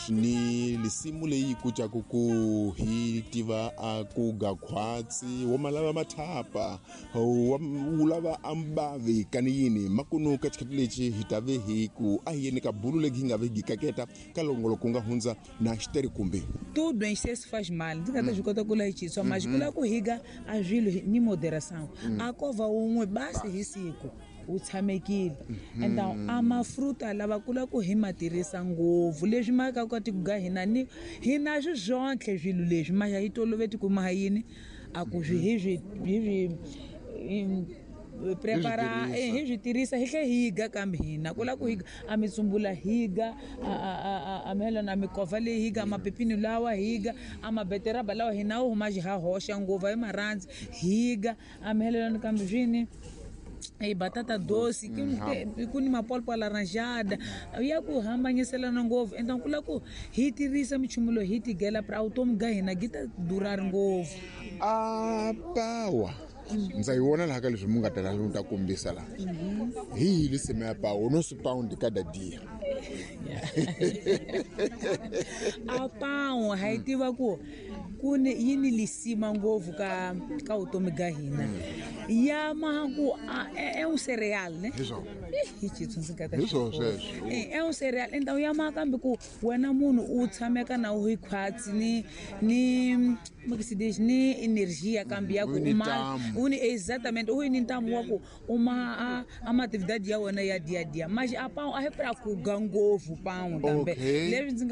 Swi ni lisimu leyi kucaku ku hi tiva a ku ga khwatsi wo ma lava mathapa wu lava ambavi kani yini makunu ka xikhati lexi hi ta ve hi ku a hi yeni ka bulu legi hi nga ve hi kaketa ka longolo ku nga hundza na xiteri kumbe. Tudo em excesso faz mal. Ndzi nga ta swi kota ku layichiswa mas ku lava ku higa a swilo ni moderação. A ko va wun'we basi hi siku wu tshamekile. Então a mafruta lava ku lava ku hi ma tirhisa ngopfu leswi ma ka koti ku ga hina ni hi na swi swontlhe swilo leswi ma hi toloveti ku ma yini a ku swi hi swi hi swi prepara hi swi tirhisa hi tlhe hi ga kambe hina ku lava ku higa a mitsumbula higa a melon a mikova leyi higa mapepini lawa higa a mabeteraba lawa hina wu huma ha hoxa ngopfu hi marhandzi higa a melon kambe swini e batata doce ku ni mapolpo laranjada ya ku hambanyiselana ngopfu. Então ku lava ku hi tirhisa minchumu loyi hi tigela pra vutomi bya hina byi ta durha ngopfu. A pawa ndza yi vona laha ka leswi mu nga ta laha ta kombisa laha hi yi lisima ya pawa no swi pound kada dia. A pawa ha yi tiva ku ku ni yi ni lisima ngopfu ka vutomi bya hina ya ma ku é um cereal ne. Hi swona. Hi xitsundzuxo ndzi nga ta Hi swona sweswo. É um cereal, então ya ma kambe ku wena munhu u tshameka na u hi khwatsi ni como que se diz ni energia kambe ya ku U ni uma ntamu. u ni exatamente u ni ntamu wa ku uma a ma atividade ya wena ya dia dia mas a pão a hi pra ku ga ngopfu pão kambe leswi ndzi nga.